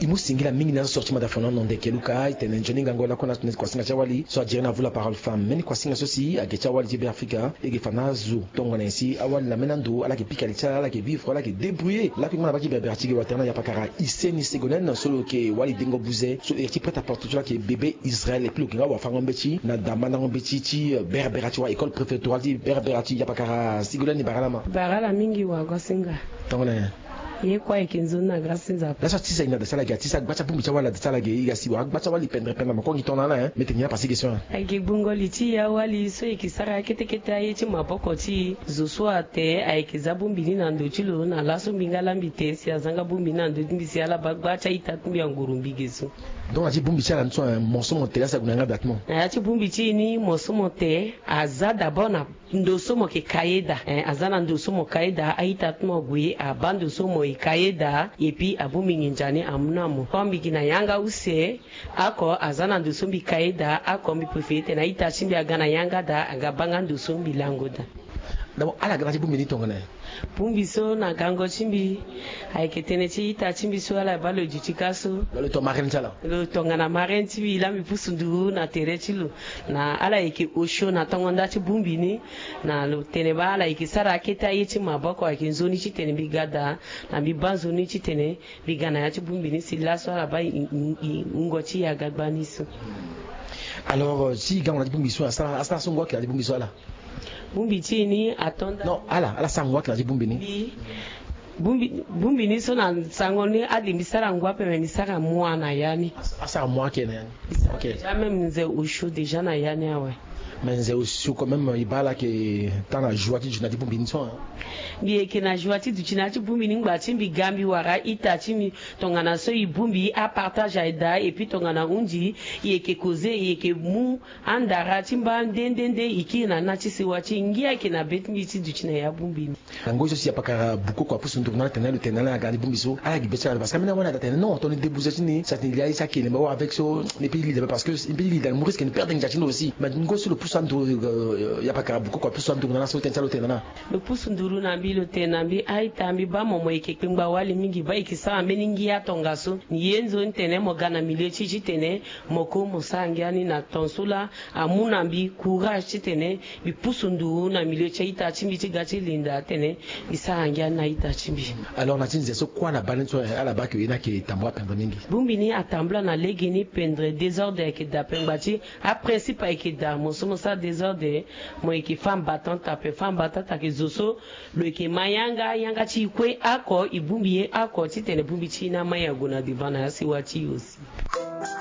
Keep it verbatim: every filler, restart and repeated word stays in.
E mu singila mingi na azo so ti mada fana na ndeke luka e tene nzoni ngango lakue na tene kuasinga ti awali so adiri na vula parole femme mbeni kuasinga so si ake ti awali ti be afrika e ge fa na azo. Tongana nyen si awali na mena ndo ala yeke pika li ti ala ala yeke vivre ala yeke débrouiller lakue ngba na baki berbera ti ge watera na yapakara iseni segonen so lo yeke wali dengo buze so lo yeke ti prête à porte ti lo ayeke bebe israel epui lo yeke nga wafango mbeti na dambandango mbeti ti berbera ti wa école préfectorale ti berbera ti yapakara segonen ni bara ala ma. Bara ala mingi wagosinga. Tongana nyen? Ye kue ayeke nzoni na grâce ti nzapa. Laso atisa e na da ti ala ge atisa agba ti abongbi ti awali na da ti ala ge e ga si wa agba ti awali pendere pendere na makongi tongana ala e mete nyen apase question e. Ayeke gbungo li ti e awali so e yeke sara kete kete aye ti maboko ti e zo so ate ayeke za bongbi ni na ndo ti lo na laso mbi nga la mbi te si aza nga bongbi ni na ndo ti mbi si ala baa gba ti a-ita ti mbi anguru mbi ge so. Donc na ya ti bongbi ti ala ni so e mo so mo te la si ague na yanga da ti mo. Na ya ti bongbi ti e ni mo so mo te aza d'abord na ndo so mo yeke ka ye daa. Aza na ndo so mo ka ye daa a-ita ti mo ague abaa ndo so mo e ka ye daa epui abongbi nginza ni amu na mo comme mbi gi na yanga use. Ako aza na ndo so mbi ka ye daa ako mbi prefere tene a-ita ti mbi aga na yanga daa aga baa nga ndo so mbi lango daa. D'abord ala ga na ti bongbi ni tongana nyen? Bongbi so na gango ti mbi ayeke tënë ti ita ti mbi so ala baa lo duti ka so. Lo tongana marraine ti mbi laa mbi pusu nduru na tere ti lo na ala yeke osio na tongo nda ti bongbi ni. Na lo tene baa ala yeke sara akete aye ti maboko ayeke nzoni titene mbi ga daa na mbi baa nzoni titene mbi ga na ya ti bongbi ni si laso ala baa wungo ti e aga gbani so. Alors si e gango na ti bongbi so asara so ngu ayeke na ti bongbi so ala? Bongbi ti e ni ato nda non ala ala sara ngu ayeke na ti bongbi ni. Bongbi ni so na sango ni ade mbi sara ngu ape me mbi sara mua na ya ni. Asara mua ayeke na ya ni. Déjà même nze osio déjà na ya ni awe. Mais nze osio quand même e baa ala yeke taa na joie ti duti na ti bongbi ni so. Mbi yeke na joie ti duti na ya ti bongbi ni ngba ti mbi ga mbi wara ita ti mbi tongana so e bongbi apartage aye daa epui tongana hundi e yeke koze e yeke mu andara ti mba nde nde nde e kiri na na ti sewa ti e ngia ayeke na be ti mbi ti duti na ya bongbi ni. Na ngoi so si apakara bukoko apusu nduru na ala tene na lo tene na ala na ga na ti bongbi so ala gi be ti ala lo parce que ambeni awani ada tene non tongana e debuze ti ni si atene e lia ye ti ake elemba wala avec so. Ni pe e lida parce que ni pe e lida ni mu risque ni perdre ngia ti ni aussi mais ngoi so lo pusu anduru. Apakara bukoko apusu anduru na ala so tene ti ala lo tene na ala. Lo pusu nduru na mbi lo tene na mbi a-ita mbi baa mo mo yeke kpengba wali mingi baa e yeke sara mbeni ngia tongaso. Ni ye nzoni tene mo ga na milieu ti e titene mo ko mo sara ngia ni na ton so laa amu na mbi courage titene mbi pusu nduru na milieu ti a-ita ti mbi ti ga ti linda atene mbi sara ngia ni na a-ita ti mbi. Alors na ti nze so kue ala baa ni so ala baa ke ye ni ayeke tambula pendere mingi. Bongbi ni atambula na legeni pendere désordre ayeke daa pengba ti aprincipe ayeke daa mo so mo sara désordre. Mo yeke femme battante ape femme battante ayeke zo so lo yeke ma yanga yanga ti e kue oko e bongbi ye oko titene bongbi ti e ni amai ague na devant na ya sewa ti e aussi.